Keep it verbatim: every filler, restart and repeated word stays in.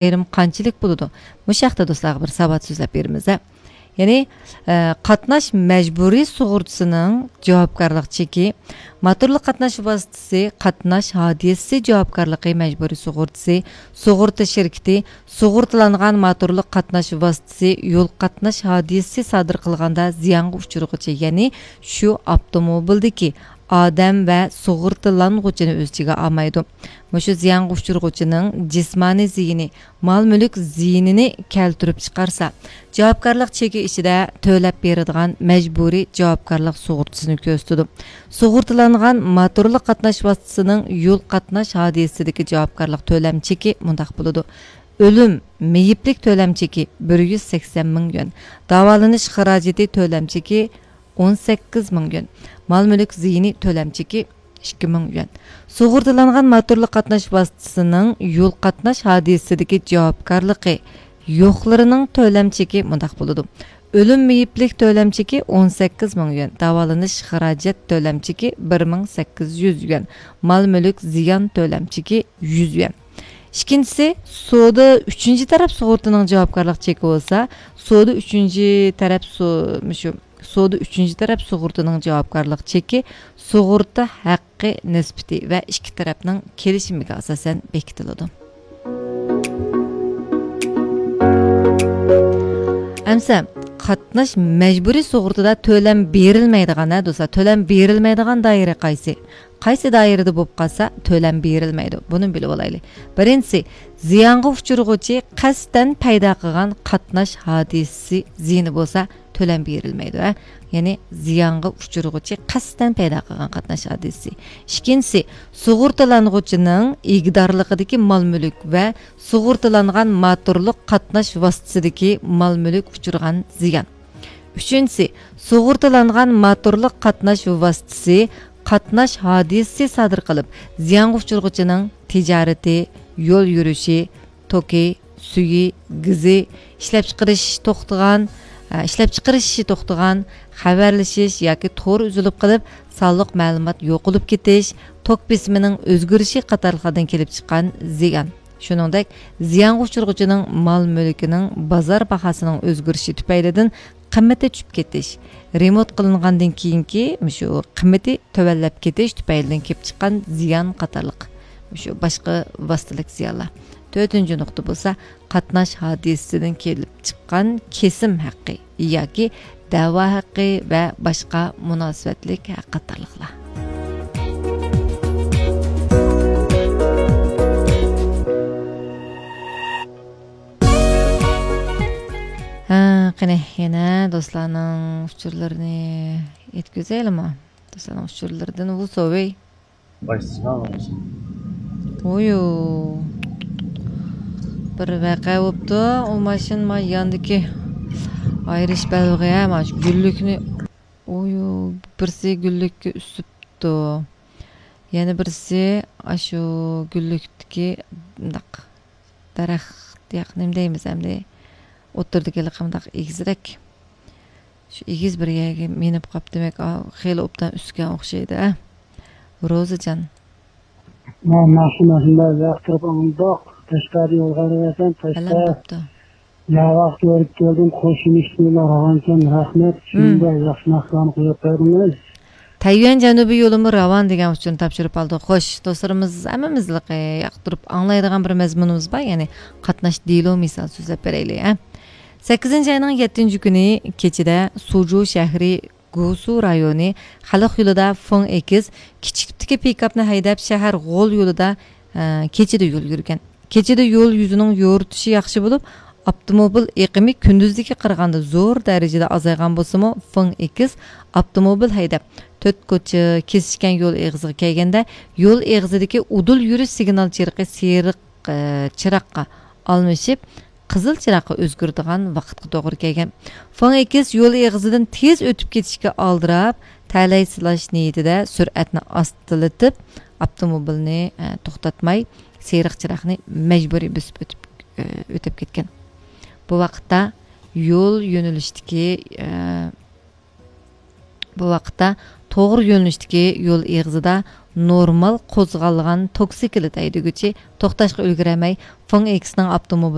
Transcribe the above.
ئايرىم قانچىلىك بولىدۇ؟ مۇشۇ ھەقتە دوستلارغا بىر ساۋات سۆزلەپ بېرىمىز، ھە. يەنى، ئە، قاتناش مەجبۇرىي سۇغۇرتىسىنىڭ جاۋابكارلىق چېكى، موتورلۇق قاتناش ۋاسىتىسى قاتناش ھادىسىسى جاۋابكارلىقى مەجبۇرىي سۇغۇرتىسى، سۇغۇرتا شىركىتى، سۇغۇرتىلانغان موتورلۇق قاتناش ۋاسىتىسى يول قاتناش ھادىسىسى سادىر قىلغاندا زىيانغا ئۇچرىغۇچى، يەنى شۇ ئاپتوموبىلدىكى ئادەم ۋە سۇغۇرتىلانغۇچىنى ئۆز ئىچىگە ئالمايدۇ. مۇشۇ زىيانغا ئۇچرىغۇچىنىڭ جىسمانىي زىيىنى، مال-مۈلۈك زىيىنىنى كەلتۈرۈپ چىقارسا، جاۋابكارلىق چېكى ئىچىدە تۆلەپ بېرىدىغان مەجبۇرىي جاۋابكارلىق سۇغۇرتىسىنى كۆرسىتىدۇ. سۇغۇرتىلانغان موتورلۇق قاتناش ۋاسىتىسىنىڭ يول قاتناش ھادىسىسىدىكى جاۋابكارلىق تۆلەم چېكى مۇنداق بولىدۇ: ئۆلۈم، مېيىپلىك تۆلەم چېكى بىر يۈز سەكسەن مىڭ يۈەن، داۋالىنىش خىراجىتى تۆلەم چېكى ئون سەككىز مىڭ يۈەن، مال-مۈلۈك زىيىنى تۆلەم چېكى ئىككى مىڭ يۈەن. سۇغۇرتىلانغان موتورلۇق قاتناش ۋاسىتىسىنىڭ يول قاتناش ھادىسىسىدىكى جاۋابكارلىقى يوقلىرىنىڭ تۆلەم چېكى مۇنداق بولىدۇ: ئۆلۈم مېيىپلىك تۆلەم چېكى ئون سەككىز مىڭ يۈەن، داۋالىنىش خىراجەت تۆلەم چېكى بىر مىڭ سەككىز يۈز يۈەن، مال-مۈلۈك زىيان تۆلەم چېكى يۈز يۈەن. ئىككىنچىسى، سودا ئۈچىنچى تەرەپ سۇغۇرتىنىڭ جاۋابكارلىق چېكى بولسا، سودا ئۈچىنچى تەرەپ سو-، مۇشۇ سودا ئۈچىنچى تەرەپ سۇغۇرتىنىڭ جاۋابكارلىق چېكى سۇغۇرتا ھەققى نىسبىتى ۋە ئىككى تەرەپنىڭ كېلىشىمىگە ئاساسەن بېكىتىلىدۇ. ئەمسە قاتناش مەجبۇرىي سۇغۇرتىدا تۆلەم بېرىلمەيدىغان، ھە دوستلار، تۆلەم بېرىلمەيدىغان دائىرە قايسى؟ قايسى دائىرىدە بولۇپ قالسا تۆلەم بېرىلمەيدۇ؟ بۇنى بىلىپ ئالايلى. بىرىنچىسى، زىيانغا ئۇچرىغۇچى قەستەن پەيدا قىلغان قاتناش ھادىسىسى زىيىنى بولسا تۆلەم بېرىلمەيدۇ، ھە؟ يەنى زىيانغا ئۇچرىغۇچى قەستەن پەيدا قىلغان قاتناش ھادىسىسى. ئىككىنچىسى، سۇغۇرتىلانغۇچىنىڭ ئىگىدارلىقىدىكى مال-مۈلۈك ۋە سۇغۇرتىلانغان موتورلۇق قاتناش ۋاسىتىسىدىكى مال-مۈلۈك ئۇچرىغان زىيان. ئۈچىنچىسى، سۇغۇرتىلانغان موتورلۇق قاتناش ۋاسىتىسى قاتناش ھادىسىسى سادىر قىلىپ، زىيانغا ئۇچرىغۇچىنىڭ تىجارىتى، يول يۈرۈشى، توكى، سۈيى، گېزى، ئىشلەپچىقىرىش توختىغان، ئە، ئىشلەپچىقىرىشى توختىغان، خەۋەرلىشىش ياكى تور ئۈزۈلۈپ قېلىپ، سانلىق مەلۇمات يوقىلىپ كېتىش، توك بېسىمىنىڭ ئۆزگىرىشى قاتارلىقلاردىن كېلىپ چىققان زىيان. شۇنىڭدەك، زىيانغا ئۇچرىغۇچىنىڭ مال-مۈلكىنىڭ بازار باھاسىنىڭ ئۆزگىرىشى تۈپەيلىدىن قىممىتى چۈشۈپ كېتىش، رېمونت قىلىنغاندىن كېيىنكى مۇشۇ قىممىتى تۆۋەنلەپ كېتىش تۈپەيلىدىن كېلىپ چىققان زىيان قاتارلىق مۇشۇ باشقا ۋاسىتىلىك زىيانلار. تۆتىنچى نۇقتا بولسا، قاتناش ھادىسىسىدىن كېلىپ چىققان كېسىم ھەققى ياكى دەۋا ھەققى ۋە باشقا مۇناسىۋەتلىك ھەق قاتارلىقلار. ھە، قېنى، يەنە دوستلارنىڭ ئۇچۇرلىرىنى يەتكۈزەيلىما؟ دوستلارنىڭ ئۇچۇرلىرىدىن ۋۇ سوۋېي. باشلىسىغا بولسۇن. ۋۇيۇ. بىر ۋەقە بوپتۇ. ئۇ ماشىنا ما ياندىكى ئايرىش بەلبېغى، ھە، ما شۇ گۈللۈكنى. ۋۇيۇ، بىرسى گۈللۈككە ئۈسۈپتۇ. يەنە بىرسى ئاشۇ گۈللۈكتىكى مۇنداق دەرەخ، ياق، نېمە دەيمىز ئەمدى، ئوتتۇرىدىكى ھېلىقى مۇنداق ئېگىزرەك. شۇ ئېگىز بىر يەرگە مىنىپ قاپتۇ دېمەك، ئا، خېلى ئوبدان ئۈسكەن ئوخشايدۇ، ئە. روزىجان. ما، ماشىنا شۇنداق ياقتۇرۇپ ئاڭلىدۇق. تەشقەردە يولغا بېرىۋاتىمەن، تەشقەر. بەلەن بوپتۇ. ياۋاق كۆرۈپ كەلدىم، قوشۇمىش بىلەن راۋانكەن، رەھمەت. مم. شۇنداق ياخشى ناخشىلارنى قويۇپ بەردىڭىز. تەييۈەن جەنۇبىي يولىمۇ راۋان دېگەن ئۇچۇرنى تاپشۇرۇپ ئالدۇق. خوش، دوستلىرىمىز ھەممىمىزلىقى ياقتۇرۇپ ئاڭلايدىغان بىر مەزمۇنىمىز بار، يەنى قاتناش دېلو مىسال سۆزلەپ بېرەيلى، ھە. سەككىزىنچى ئاينىڭ يەتتىنچى كۈنى كېچىدە سۇجۇ شەھىرى گۇسۇ رايونى خەلق يولىدا فېڭ ئېكس كىچىك تىپتىكى پىكاپنى ھەيدەپ، شەھەر غول يولىدا، ئە، كېچىدە يول يۈرگەن. كېچىدە يول يۈزىنىڭ يورۇتۇشى ياخشى بولۇپ، ئاپتوموبىل ئېقىمى كۈندۈزدىكىگە قارىغاندا زور دەرىجىدە ئازايغان بولسىمۇ، فېڭ ئېكس ئاپتوموبىل ھەيدەپ، تۆت كوچا كېسىشكەن يول ئېغىزىغا كەلگەندە، يول ئېغىزىدىكى ئۇدۇل يۈرۈش سىگنال چىرىقى سېرىق، ئە، چىراغقا ئالمىشىپ، قىزىل چىراغقا ئۆزگىرىدىغان ۋاقىتقا توغرا كەلگەن. فېڭ ئېكس يول ئېغىزىدىن تېز ئۆتۈپ كېتىشكە ئالدىراپ، تەلەي سىلاش نىيىتىدە سۈرئەتنى ئاستىلىتىپ، ئاپتوموبىلنى، ئە، توختاتماي، سېرىق چىراغنى مەجبۇرىي بۆسۈپ ئۆتۈپ، ئە، ئۆتۈپ كەتكەن. بۇ ۋاقىتتا يول يۆنىلىشتىكى، ئە، بۇ ۋاقىتتا توغرا يۆنىلىشتىكى يول ئېغىزىدا نورمال قوزغالغان توكسىكلىت ھەيدىگۈچى توختاشقا ئۈلگۈرەلمەي، فېڭ ئېكسنىڭ ئاپتوموبىلى